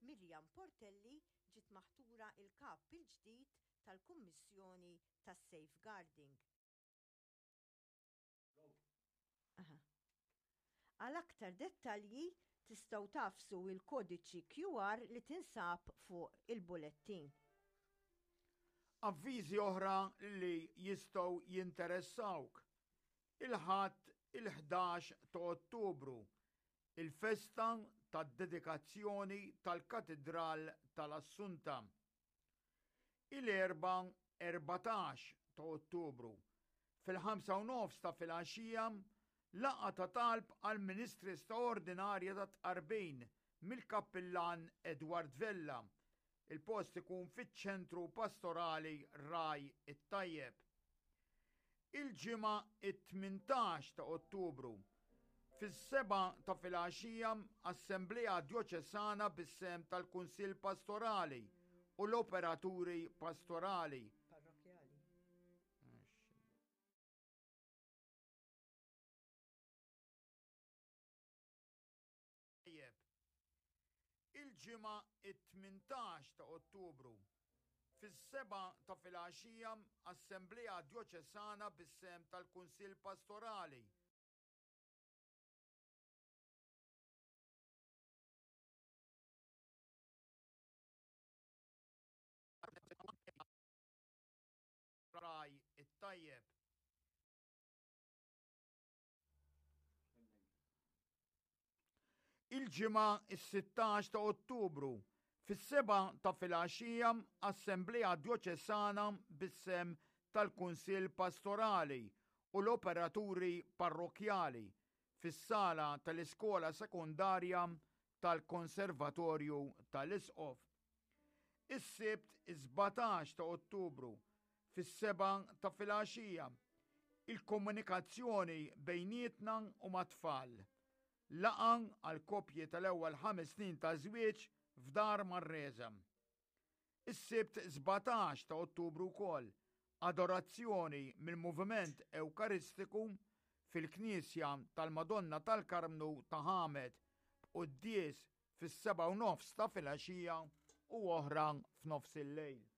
Miriam Portelli ġiet maħtura l-Kap il-ġdid tal-Kummissjoni tas-Safeguarding. Għal aktar dettalji tistgħu tagħfsu l-kodiċi QR li tinsab fuq il-bulettin. Avviżi oħra li jistgħu jinteressawk. Il-Ħadd il-11 ta' Ottubru, il-festa tad-dedikazzjoni tal-Katidral tal-Assunta. Il-Erbgħa 14 ta' Ottubru, fil-ħamsa u nofs ta' filgħaxija, laqgħa ta' talb għall-Ministri Straordinarja tat-Tqarbin mill-Kappillan Edward Vella. Il-post ikun fiċ-Ċentru Pastorali Ragħaj it-Tajjeb. Il-Ġimgħa it-18 ta' Ottubru, fis-sebgħa ta' filgħaxija Assemblea Djoċesana bis-sehem tal-Kunsill Pastorali u l-Operaturi Pastorali. Parrokkjali. Tajjeb. Il-Ġimgħa it-18 ta' Ottubru, fis-sebgħa ta' filgħaxija Assemblea Djoċesana bis-sehem tal-Kunsill Pastorali. Ragħaj it-Tajjeb. Il-Ġimgħa is-16 ta' Ottubru, fis-sebgħa ta' filgħaxija Assemblea Djoċesana bis-sehem tal-Kunsill Pastorali u l-Operaturi Parrokkjali fis-sala tal-Iskola Sekondarja tal-Konservatorju tal-Isqof. Is-Sibt is-17 ta' Ottubru, fis-sebgħa ta' filgħaxija, il-komunikazzjoni bejnietna u mat-tfal. Laqgħa għall-koppji tal-ewwel ħames snin ta' żwieġ f'Dar Manresa. Is-Sibt 17 ta' Ottubru wkoll, adorazzjoni mill-Moviment Ewkaristiku fil-Knisja tal-Madonna tal-Karmnu ta' Ħamed b'quddies fis-sebgħa u nofs ta' filgħaxija u oħra f'nofs il-lejl.